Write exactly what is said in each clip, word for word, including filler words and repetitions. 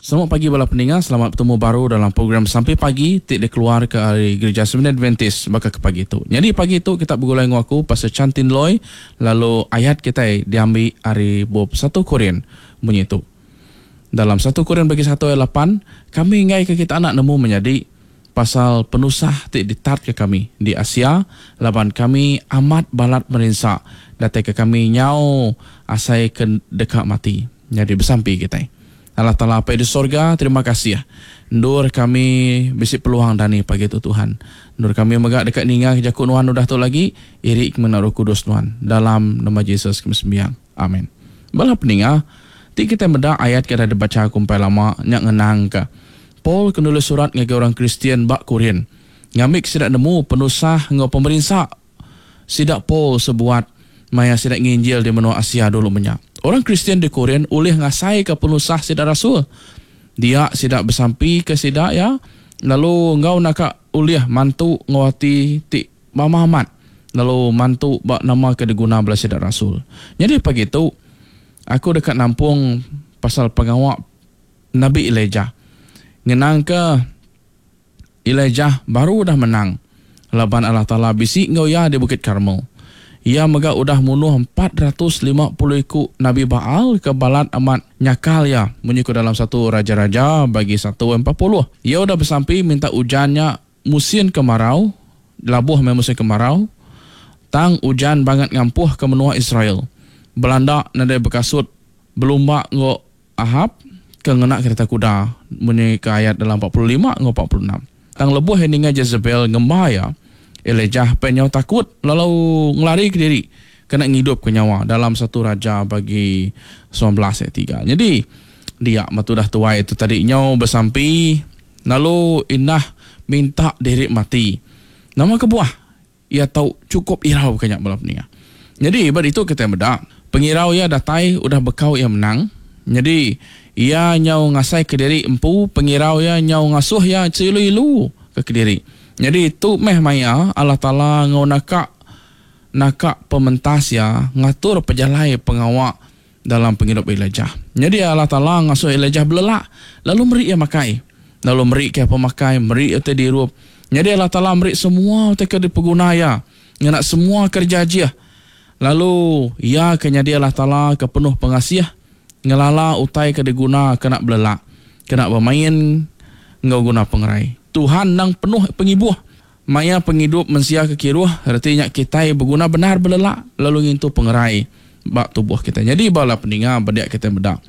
Selamat pagi bala peninga, selamat betemu baru dalam program Sampi Pagi ti dikeluarka ari Gerija Seventh Adventist baka ke pagi tu. Nyadi pagi tu kita begulai enggau aku Pastor Chantin Loy lalu ayat kitai diambi ari bup satu Korin munyi tu. Dalam satu Korin bagi satu ayat lapan, kami enggai ke kita anak nemu menyadi pasal penusah ti ditatka kami di Asia laban kami amat balat merinsa datai ke kami nyau asai ke deka mati. Nyadi besampi kitai. Allah Taala Apai di sorga, terima kasih. Endur kami bisi peluang dani pagi tu Tuhan. Endur kami mega deka ninga jaku Nuan udah tu lagi, iri ke mena Roh Kudus Nuan. Dalam nama Jesus kami sembiang. Amin. Bala peninga, ti kita meda ayat ke dah dibaca aku empai lama nya ngenangka Paul ke nulis surat ngagai orang Kristian ba Korin. Ngambi ke sida nemu penusah enggau pemerinsa sida Paul sebuat maya sida nginjil di menua Asia dulu menya. Orang Kristian di Korin ulih ngasaika penusah sida rasul. Dia sida besampi ke sida ya, lalu enggau naka ulih mantu enggau ati ti mamah amat, lalu mantu ba nama ke diguna bala sida rasul. Jadi pagi tu aku deka nampung pasal pengawa Nabi Elijah. Ngenangka Elijah baru udah menang laban Allah Taala bisi enggau iya di Bukit Karmel. Iya mega udah munuh empat ratus lima puluh iku Nabi Baal ke balat amat nyakal iya munyi ku dalam satu Raja-Raja bagi satu empat puluh. Iya udah besampi minta ujan nya musin kemarau, labuh meh musin kemarau, tang ujan bangat ngampuh ke menua Israel. Belanda nadai bekasut belumba enggau Ahab ke ngena kereta kuda munyi ke ayat dalam empat puluh lima enggau empat puluh enam. Tang lebuh iya ninga Jezebel ngemba iya, Elijah pen nyau takut lalu ngelari ke diri kena ngidup ke nyawa dalam satu Raja bagi sembilan belas ayat tiga. Jadi dia matu dah tuai tu tadi nyau besampi lalu indah minta diri mati. Nama kebuah ia tau cukup irau ke nya bala peninga. Jadi ba ditu kita meda pengirau ia datai udah bekau ia menang. Jadi ia nyau ngasai ke diri empu, pengirau ia nyau ngasuh ia seilu-ilu ke kediri. Jadi tu meh maya Allah Taala ngau naka naka pementas ia ngatur pejalai pengawa dalam pengidup Elijah. Jadi Allah Taala ngasuh Elijah belelak lalu meri ia makai. Lalu meri ke pemakai, meri utai dirup. Jadi Allah Taala meri semua utai ke dipeguna ia, ngena semua kerja ajih. Lalu ia ke nyadi Allah Taala ke penuh pengasih, ngelala utai ke diguna kena belelak, kena bermain enggau guna pengerai. Tuhan nang penuh pengibuh. Maya pengidup mensia ke kiruh, reti nya kitai beguna benar belelak lalu ngintu pengerai ba tubuh kita. Jadi bala peninga bediak kita meda.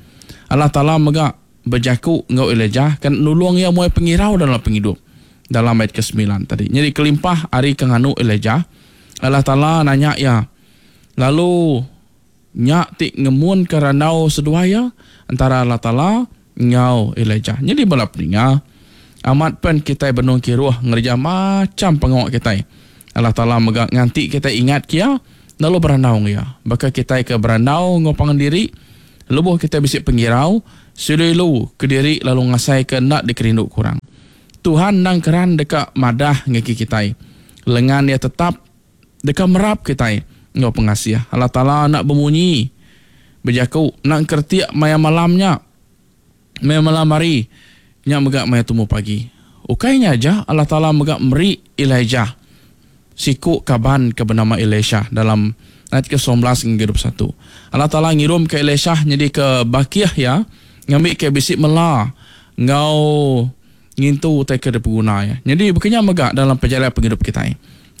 Allah Taala mega bejaku enggau Elijah kan nulung ia muai pengirau dalam pengidup. Dalam ayat kesembilan tadi. Jadi kelimpah ari ke nganu Elijah, Allah Taala nanya ia. Lalu nya ti ngemun ke randau seduai ia antara Allah Taala enggau Elijah. Jadi bala peninga, amat pen kitai benung kiruh ngereja macam pengawa kitai. Allah Taala mega nganti kitai ingat kia lalu berandau ia. Baka kitai ke berandau enggau pangan diri, lebuh kitai bisi pengirau, silu-ilu ke diri lalu ngasai ke enda dikerindu kurang. Tuhan nang keran deka madah ngaki kitai. Lengan ia tetap deka merap kitai enggau pengasih. Allah Taala nak bemunyi bejaku nak kertiak maya malamnya. Maya malam hari nya mega maya tumu pagi. Ukainya aja Allah Taala mega meri Elijah siku kaban ke bernama Elisha dalam ayat ke sembilan belas hingga dua puluh satu. Allah Taala ngirum ke Elisha jadi ke bakih ya, ngambi ke bisi mela enggau ngintu utai ke dipeguna ya. Jadi bekenya mega dalam perjalanan penghidup kita.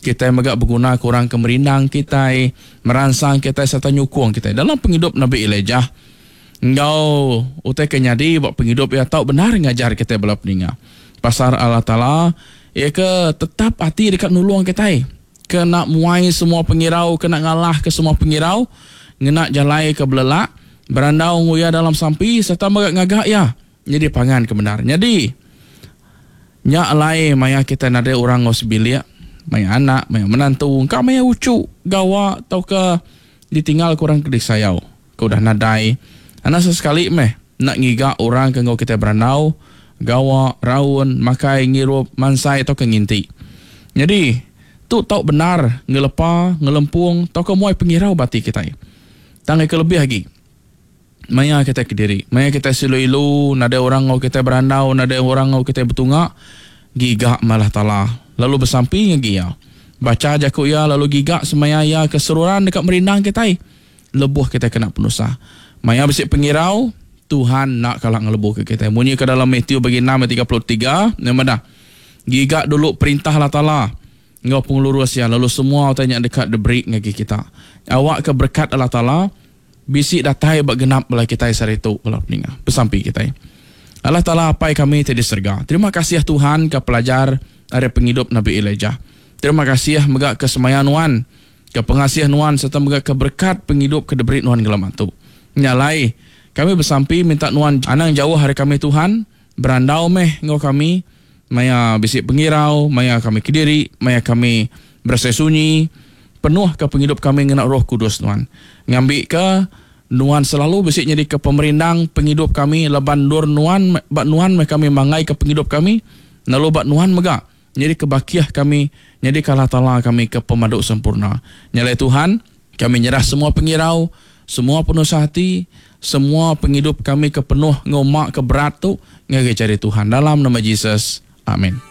Kita mega berguna ke orang ke merindang kita, merangsang kita serta nyukung kita. Dalam penghidup Nabi Elijah enggau utai ke nyadi buat penghidup ia tau benar ngajar kita bala peninga. Pasal Allah Taala ia ke tetap hati dekat nulung kita. Ke nak muai semua pengirau, ke nak ngalah ke semua pengirau, ngena jalai ke belelak, berandau nguya dalam sampi serta mega ngagak ia. Jadi pangan ke benar. Jadi nya alai maya kita nadai orang ngau sebilik, maya anak, maya menantu, engkau maya ucu, gawa atau ke ditinggal ke orang ke disayau, ke udah nadai. Anak sesekali meh nak ngiga orang ke ngau kita berandau, gawa, raun, makai, ngirup, mansai atau ke nginti. Jadi tu tau benar ngelepa, ngelempung atau ke muai pengirau bati kita. Tang ke lebih lagi. Maya kita kediri, maya kita silu-ilu, nadai orang ngau kita berandau, nadai orang ngau kita betunga, giga malah tala. Lalu bersampi ngagi ya. Baca jaku ya lalu giga semaya ya keseruran dekat merindang kita. Lebuh kita kena penusah. Maya bisi pengirau, Tuhan nak kalah ngelebuh ke kita. Munyi ke dalam Matthew bagi enam ayat tiga puluh tiga, yang mana? Giga dulu perintah Allah Taala ngau pengelurus ya, lalu semua utai yang dekat diberi ngagi kita. Awak ke berkat Allah Taala bisi datai bak genap bala kita sehari tu bala peninga. Besampi kita. Allah Taala apai kami ti di serga. Terima kasih Tuhan ke pelajar ari penghidup Nabi Elijah. Terima kasih mega ke semaya nuan, ke pengasih nuan serta mega ke berkat penghidup ke diberi nuan gelama tu. Nyalai kami bersampi minta nuan anang jauh hari kami Tuhan, berandau meh ngau kami maya bisi pengirau, maya kami kediri, maya kami berasa sunyi, penuh ke penghidup kami ngena Roh Kudus nuan. Ngambi ke nuan selalu bisi jadi ke pemerindang penghidup kami leban nur nuan bak nuan meh kami mangai ke penghidup kami, lalu bak nuan mega jadi kebakiah kami, jadi kalah tala kami ke pemaduk sempurna. Nyalai Tuhan, kami nyerah semua pengirau, semua penusah hati, semua penghidup kami ke penuh ngomak ke berat tu ngagai cari Tuhan dalam nama Jesus. Amin.